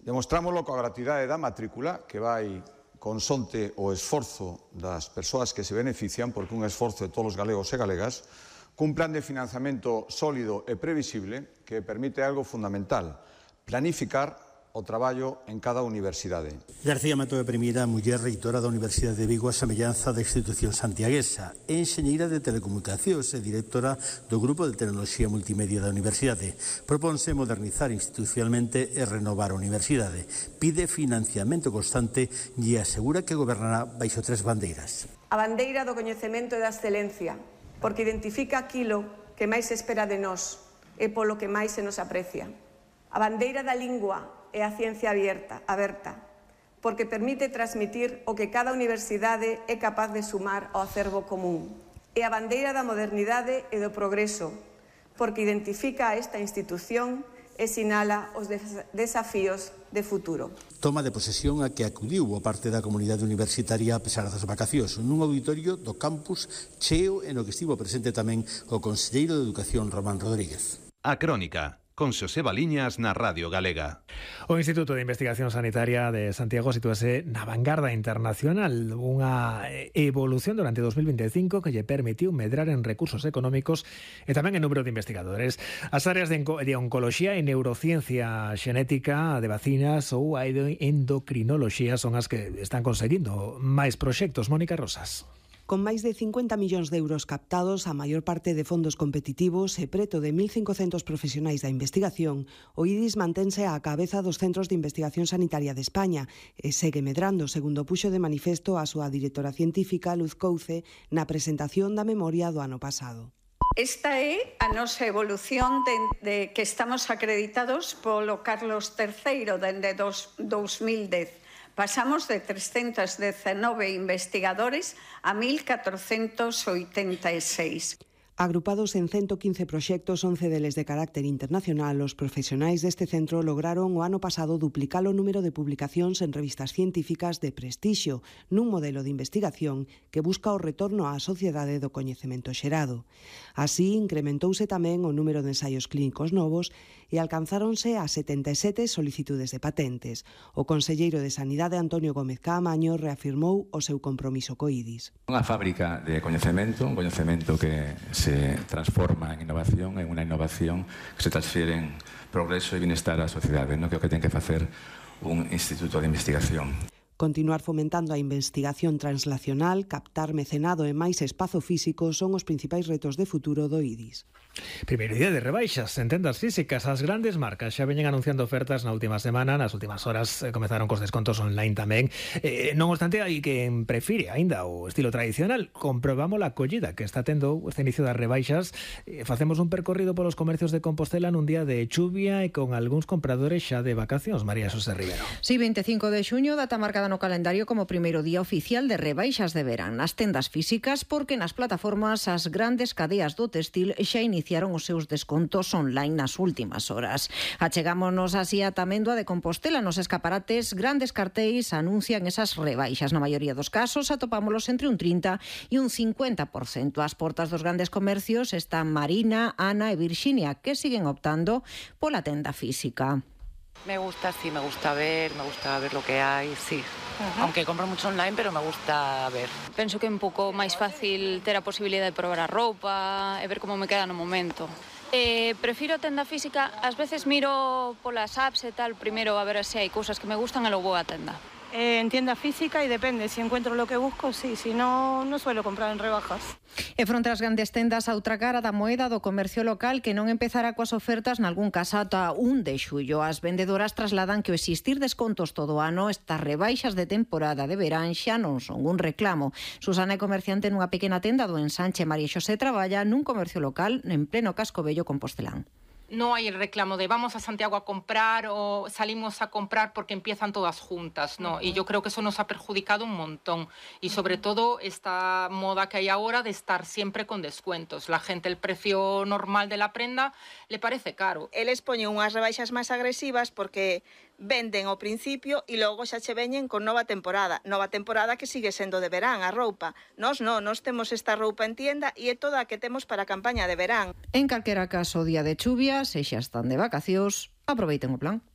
Demostrámoslo coa gratuidade da matrícula, que vai consonte o esforzo das persoas que se benefician, porque un esforzo de todos os galegos e galegas, cun plan de financiamento sólido e previsible que permite algo fundamental: planificar o traballo en cada universidade. García Mato é a primeira muller reitora da Universidade de Vigo a semellanza da institución santiaguesa, enxeñeira de telecomunicacións e directora do Grupo de Tecnoloxía Multimedia da Universidade. Proponse modernizar institucionalmente e renovar a universidade. Pide financiamento constante e asegura que gobernará baixo 3 bandeiras. A bandeira do coñecemento e da excelencia, porque identifica aquilo que máis se espera de nós e polo que máis se nos aprecia. A bandeira da lingua e a ciencia aberta, porque permite transmitir o que cada universidade é capaz de sumar ao acervo común. E a bandeira da modernidade e do progreso, porque identifica a esta institución e sinala os desafíos de futuro. Toma de posesión a que acudiu a parte da comunidade universitaria a pesar das vacacións, nun auditorio do campus cheo e no que estivo presente tamén o conselleiro de Educación Román Rodríguez. A Crónica, con Xoseba Liñas na Radio Galega. O Instituto de Investigación Sanitaria de Santiago sitúase na vanguarda internacional, unha evolución durante 2025 que lle permitiu medrar en recursos económicos e tamén en número de investigadores. As áreas de oncoloxía e neurociencia xenética, de vacinas ou a endocrinoloxía son as que están conseguindo máis proxectos. Mónica Rosas. Con máis de 50 millóns de euros captados, a maior parte de fondos competitivos e preto de 1.500 profesionais da investigación, o IDIS mantense á cabeza dos centros de investigación sanitaria de España e segue medrando, segundo puxo de manifesto a súa directora científica, Luz Couce, na presentación da memoria do ano pasado. Esta é a nosa evolución de que estamos acreditados polo Carlos III dende 2010. Pasamos de 319 investigadores a 1.486. Agrupados en 115 proxectos, 11 deles de carácter internacional, os profesionais deste centro lograron o ano pasado duplicar o número de publicacións en revistas científicas de prestixio, nun modelo de investigación que busca o retorno á sociedade do coñecemento xerado. Así, incrementouse tamén o número de ensaios clínicos novos e alcanzáronse a 77 solicitudes de patentes. O conselleiro de Sanidade, Antonio Gómez Caamaño, reafirmou o seu compromiso co IDIS. Unha fábrica de coñecemento, un coñecemento que se transforma en innovación, en unha innovación que se transfiere en progreso e bienestar á sociedade, non? Que é o que ten que facer un instituto de investigación. Continuar fomentando a investigación translacional, captar mecenado e máis espazo físico son os principais retos de futuro do IDIS. Primeiro día de rebaixas en tendas físicas. As grandes marcas xa veñen anunciando ofertas na última semana. Nas últimas horas comezaron cos descontos online tamén. Non obstante, hai quen prefire aínda o estilo tradicional. Comprobamos a acollida que está tendo este inicio das rebaixas. Facemos un percorrido polos comercios de Compostela nun día de chuvia e con algúns compradores xa de vacacións. María Xosé Rivero. Sí, 25 de xuño, data marcada no calendario como primeiro día oficial de rebaixas de verán nas tendas físicas, porque nas plataformas as grandes cadeas do textil xa iniciaron os seus descontos online nas últimas horas. Achegámonos así a Tamendo de Compostela. Nos escaparates, grandes cartéis anuncian esas rebaixas. Na maioría dos casos atopámolos entre un 30 e un 50%. As portas dos grandes comercios están Marina, Ana e Virxinia, que siguen optando pola tenda física. Me gusta, sí, me gusta ver lo que hay, sí. Aunque compro mucho online, pero me gusta ver. Penso que é un pouco máis fácil ter a posibilidade de probar a roupa e ver como me queda no momento. Prefiro a tenda física, ás veces miro polas apps e tal, primeiro a ver se hai cousas que me gustan e logo vou á tenda. En tienda física y depende, si encuentro lo que busco, sí, si no, no suelo comprar en rebajas. E fronte ás grandes tendas, a outra cara da moeda do comercio local que non empezará coas ofertas nalgún caso ata 1 de xullo. As vendedoras trasladan que o existir descontos todo o ano, estas rebaixas de temporada de verán xa non son un reclamo. Susana é comerciante nunha pequena tenda do Ensanche. María Xosé traballa nun comercio local en pleno casco vello compostelán. No hay el reclamo de vamos a Santiago a comprar o salimos a comprar porque empiezan todas juntas, ¿no? Y yo creo que eso nos ha perjudicado un montón. Y sobre todo esta moda que hay ahora de estar siempre con descuentos. La gente, el precio normal de la prenda le parece caro. Eles poñen unhas rebaixas máis agresivas porque venden ao principio e logo xa che veñen con nova temporada que sigue sendo de verán a roupa. Nós temos esta roupa en tienda e é toda a que temos para a campaña de verán. En calquera caso, día de chuvia, se xa están de vacacións, aproveiten o plan.